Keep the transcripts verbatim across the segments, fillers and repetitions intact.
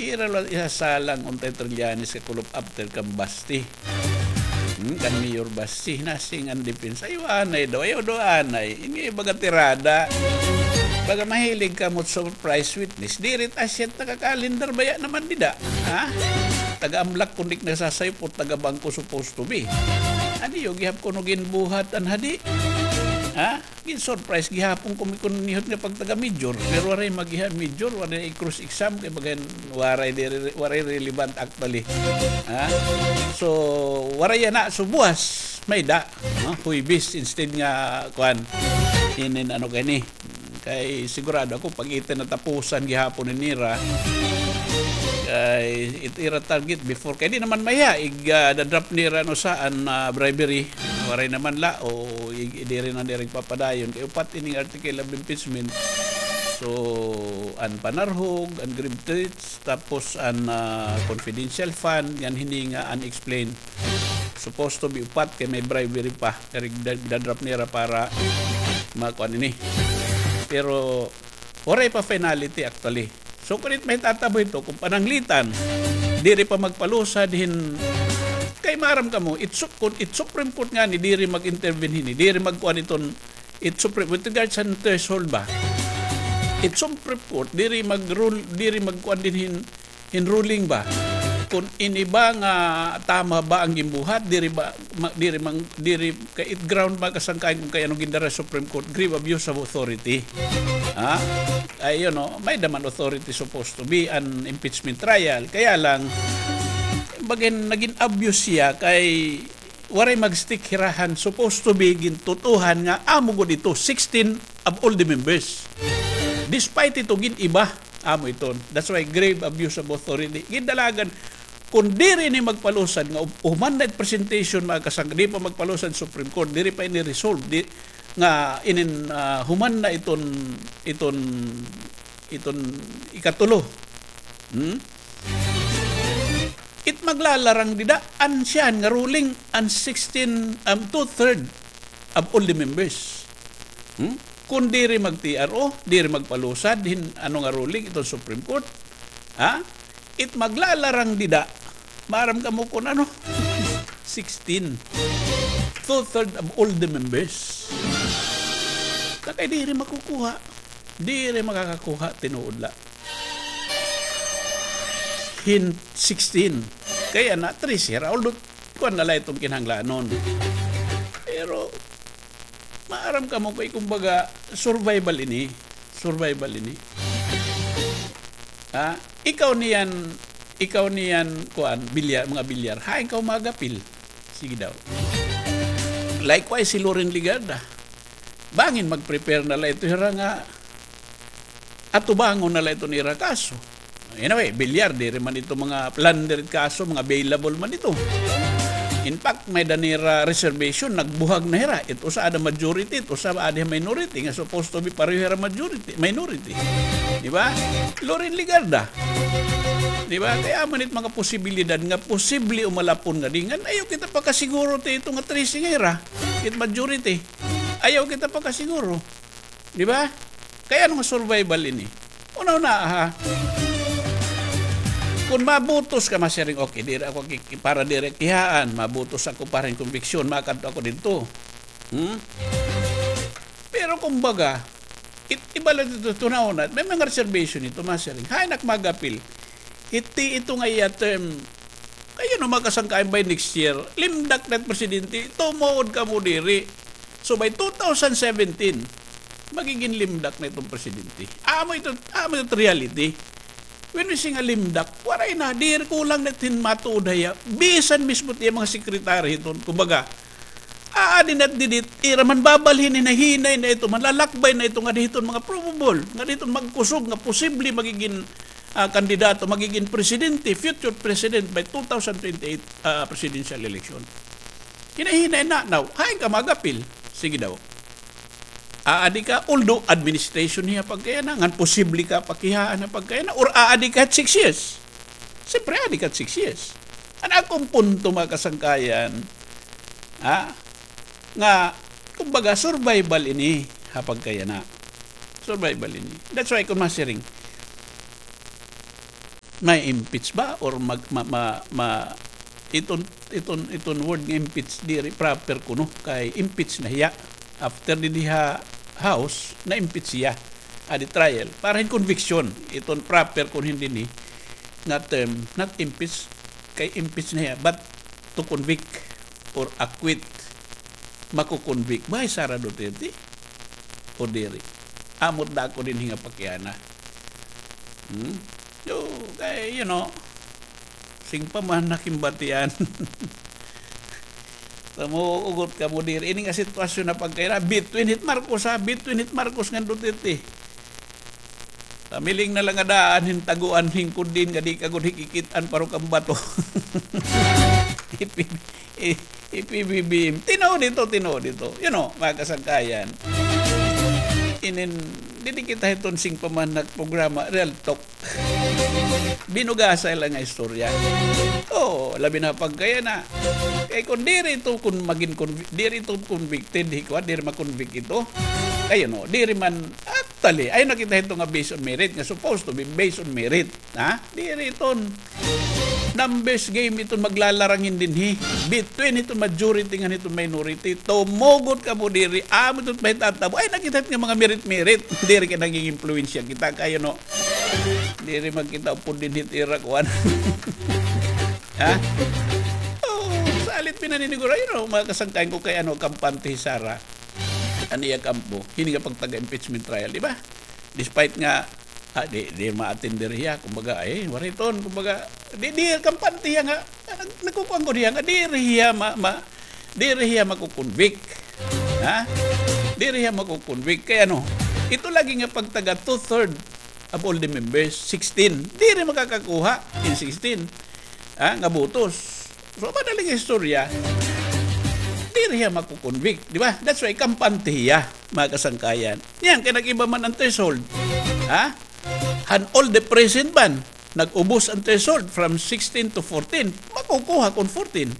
Ira la isasalang untay Trillanes ka kulop after kan Basti. Hmm, kan Mayor Basti, nasiring an depensa. Ayaw anay daw, ayaw daw anay. Ini iba nga tirada. Baga mahilig kamo surprise witness. Diri ta siya taga-calendar baya naman dida. Ha? Taga-amlak kundi nasasayop o taga-bangko supposed to be. Ano yo, gihap kuno ginbuhat an hadi? Ha? Gin-surprise gihapon ko mikon nihot nga pagtaga-major. Pero waray magiha major, waray i-cross exam, kay bagan waray diri, waray relevant actually. Ha? So, waray yana, so buwas, may-ada, no? Huwebes instead nga, kuan, inin ano kay ni. Kay sigurado ako, pag iti natapusan gihapon ni nira, kay it ira target before, kay di naman maya, ig, ah, da-drop nira no saan, ah, bribery. Waray naman la, o i-, diri na diri papadayon. Kay upat ining article of impeachment. So, an panarhog, an grave threats, tapos an, ah, confidential fund, ngan hini nga unexplained. Supposed to be upat kay may bribery pa. Kay da-, da-drop nira para makuan ini. Pero, waray pa finality actually. So, kun it mahitatabo ito, kun pananglitan, diri pa magpalusad hin, kay maaram kamo, it su-, kun it Supreme Court ngani, diri mag-intervene hini, diri magkuan iton, it Supreme, with regards sa threshold ba? It Supreme Court, diri mag-rule, diri magkuan din hin, hin ruling ba? Kun ini ba nga tama ba an ginbuhat, diri ba, ma-, diri mang, diri, kay it ground ba kasangkayan kun kay ano gindara Supreme Court, grave abuse of authority. Ha? Ay, you know, may-ada man authority supposed to be an impeachment trial. Kaya lang, bagan nagin abuse siya kay waray mag-stick hira han supposed to be gintutuhan nga amo gud ito, sixteen of all the members. Despite ito, gin-iba, amo iton. That's why grave abuse of authority. Gindalagan, kun diri ini magpalusad nga hu-, human na it presentation, mga kasangka, di pa magpalusad Supreme Court, diri pa ini resolve, di, nga inin, ah, human na iton, iton, iton ikatulo. Hmm? It maglalarang dida, an siyahan nga ruling, an sixteen, um, two-third of all the members. Hmm? Kun diri mag-T R O, diri magpalusad hin ano nga ruling iton Supreme Court, ha? It maglalarang dida, maaram kamo kun ano? Sixteen. Two-third of all the members. Kay diri makukuha. Diri makakakuha, tinuod la. Hin sixteen. Kay ana, trese ra. Although, kuan na la iton kinahanglanon. Pero, maaram kamo kay, kumbaga, survival ini. Survival ini. Ha? Ikaw niyan, ikaw niyan, kuan, bilyar, mga bilyar. Hain ka magapil? Sige daw. Likewise, si Loren Legarda. Bangin mag-prepare na la ito hira nga atubangon na la iton ira kaso. Anyway, bilyar, diri man ito mga plunder kaso, mga bailable man ito. In fact, may-ada nira reservation, nagbuhag na hira. It usa ada majority, it usa adi minority, nga supposed to be pareho hira majority, minority. Di ba? Loren Legarda. Di ba? Kay amo ini it mga posibilidad nga posible umalapon ngadi. Ngan ayaw kita pakasiguro ti ito nga trese nga hira. It majority. Ayaw kita pakasiguro. Di ba? Kay ano nga survival ini? Una-una, ha? Kun mabutos ka, masiring, okay, diri ako ki-, para diri kihaan, mabutos ako para hin conviction, makadto ako didto. Hmm? Pero kumbaga, it-, iba la didto, tunahon na, may mga reservation ito, masiring. Hain ak mag-apil? Hiti ito nga iya term. Kay ano, mga kasangkayan, by next year, limdak na it presidente, tumuod kamo diri. So, by two thousand seventeen, magigin limdak na iton presidente. Amo ito, amo ito reality. When we say nga limdak, waray na, diri kulang na it hin matuod hiya. Bisan mismo it iya mga sekretary hiton, kumbaga, aadi na it didi it ira, manbabalhin, hinahinay na ito, manlalakbay na ito ngadi hiton mga probable, ngadi hiton magkusog nga posible magigin, ah, kandidato, magigin presidente, future president by two thousand twenty-eight, ah, presidential election. Hinahinay na, now, hain ka mag-apil? Sige daw. Aadi ka, although administration hiya pagkayana, ngan posible ka pakihaan ha pagkayana, or aadi ka six years? Siyempre, aadi ka six years. An akon punto, mga kasangkayan, ha, nga, kumbaga, survival ini ha pagkayana. Survival ini. That's why, kun masiring, May impeach ba or mag-, ma-, ma-, ma-, iton, iton, iton word nga impeach diri proper kuno kay impeach na hiya. After dinhi ha House, na-impeach siya. Adi trial. Para hin conviction. Iton proper kuno hin dinhi nga term, not impeach, kay impeach na hiya, but to convict or acquit. Mako-convict ba hi Sara Duterte o diri? Amo it dako dinhi nga pakiana. Hmm? Yo, kay, you know, sing pa man nakimbatian. Tamo, ugot kamo diri. Ini nga sitwasyon na pagkayana, between hit Marcos, ha? Between hit Marcos ngan Duterte. Pamiling na la nga daan hin taguan hin kudin nga di ka gud hikikit-an parok an bato. Ipi-, i-, I-P B B M. Tinuod ito, tinuod ito. You know, mga kasangkayan. Inin, didi kita hiton sing pa man nagprograma, real talk. Binugasay la nga istorya. Oo, labi na pagkayana. Kay kon diri ito, kon magin convi-, diri ito convicted, hi kuan, diri ma-convict ito. Kay, you know, diri man, actually, ayaw na kita hito nga based on merit, nga supposed to be based on merit. Ha? Diri iton. Numbers game iton maglalarang hin dinhi. Between iton majority ngan iton minority. Tumugot kamo diri. Amo iton mahitatabo. Ay, nakita nga mga merit-merit. Diri kay nanging-impluwensya kita kay, you know. Diri man kita upod dinhi it ira kuan. Ha? Oh, salit pinaniniguro, you know, mga kasangkayan ko kay, ano, kampante hi Sara. An iya kampo, hini nga pagtaga-impeachment trial, di ba? Despite nga, ah, di, di ma-attend diri hiya, kumbaga, ay, waray ton, kumbaga, di, di, kampante hiya nga, ah, nag-, nagkukuan ko diha nga, diri hiya ma-, ma-, diri hiya makukonvict. Ha? Diri hiya makukonvict. Kay ano, ito lagi nga pagtaga two-third of all the members, sixteen, diri makakakuha in sixteen, ha, nga botos. So, madaling istorya, diri hiya makukonvict, di ba? That's why kampante hiya, mga kasangkayan. Yan, kay nag-iba man an threshold. Ha? Han all the present man, nag-ubos an threshold from sixteen to fourteen, makukuha kon fourteen.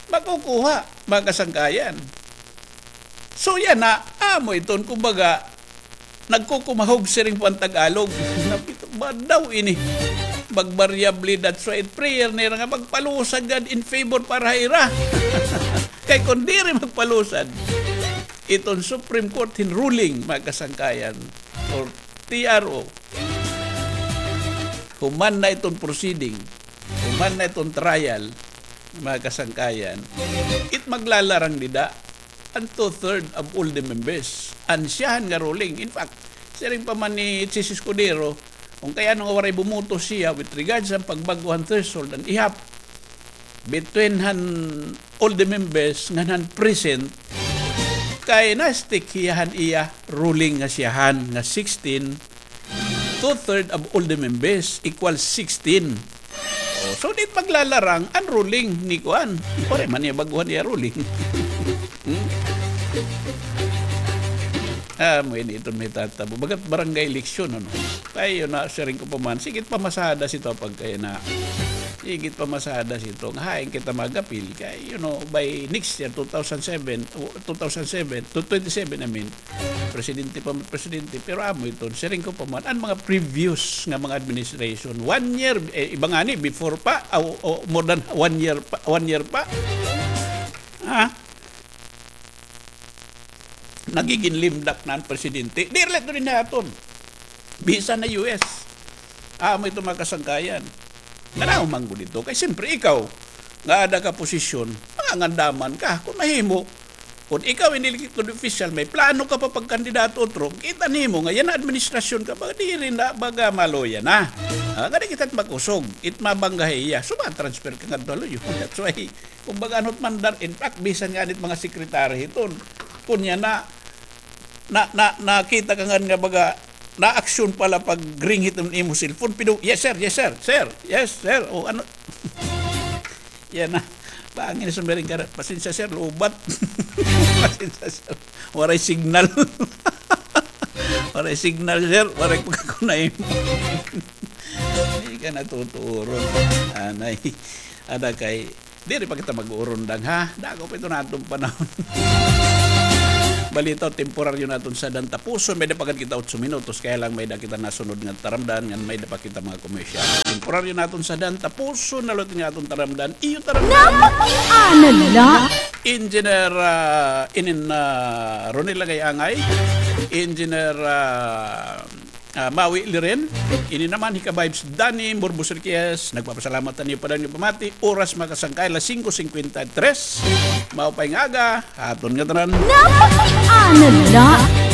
Makukuha, mga kasangkayan. So, yana, amo iton, kumbaga, nagkukumahog siring pa an Tagalog. Napito ba daw ini? Magbaryable, that's why it prayer nira nga magpalusad gad in favor para ha ira. Kay kon diri magpalusad, iton Supreme Court hin ruling, mga kasangkayan, or T R O, human na iton proceeding, human na iton trial, mga kasangkayan, it maglalarang dida an two-third of all the members. An siyahan nga ruling. In fact, siring pa man ni Chiz Escudero, kon kay ano nga waray bumoto siya with regards han pagbag-o han threshold, an ihap between han all the members ngan han present, kay na-stick hiya han iya ruling nga siyahan nga sixteen, two-third of all the members equals sixteen. Oh, so, dit maglalarang an ruling ni kuan. Waray man niya bag-uhan iya ruling. Hmm? Ah, amo ini iton mahitatabo. Bagat barangay election, ano? Kay, yun na, siring ko pa man, sige it pamasada sito pagkayana. Sige it pamasada sito. Nga hain kita mag-apil. Kay, you know, by next year, two thousand seven, o, two thousand seven, to twenty-seven, I mean, presidente pa man, presidente, pero amo iton, siring ko pa man, an mga previous nga mga administration, one year, eh, iba ngani, before pa, o, o, more than one year pa, one year pa. Ha? Nagigin limdak na an presidente. Diri la ito dinhi ha aton. Bisan ha U S. Amo ito mga kasangkayan. Ngano man gud ito? Kay siyempre ikaw, nga ada ka posisyon, mangangandaman ka. Kon mahimo, kon ikaw ini elected official, may plano ka pa pagkandidato otro, kita nimo nga yana administrasyon ka, baga diri na, baga maluya na. Ah, ngadi kita it makusog, it mabangga ha iya. So, ma-transfer ka ngadto ha luyo. That's why, kumbaga, ano't mandar, in fact, bisan ngani it mga sekretary hiton, kon yana, na, na, nakita ka ngani nga baga, na-action pala pag-ring hiton imo cellphone, pido, "Yes, sir, yes, sir, sir, yes, sir." O, ano? Yana. Bangin na sumiring ka, "Pasensya, sir, lowbat." "Pasensya, sir. Waray signal." "Waray signal, sir. Waray ko kakunay." Di ka natuturon. Anay. Ada kay, diri pa kita mag-uron, dang, ha? Dako pa ito na atong panahon. Balita, temporaryo naton sadan tapuson, may-ada pa gad kita otso minutos, kaya lang may-ada kita nasunod nga taramdan, ngan may-ada pa kita mga commercial. Temporaryo naton sadan tapuson na liwat nga aton taramdan, iyo taramdan. Napakita na la. Engineer, ah, inin, ah, Ronel Angay-angay, Engineer, ah, ah, Maui Liren, ini naman hi ka-vibes Danny Morbos Riquez, nagpapasalamat ha iyo pa dayon nga pamati, oras makasangkay alas singko singkwenta y tres, maupay nga aga, ha aton ngatanan. Napakita na la.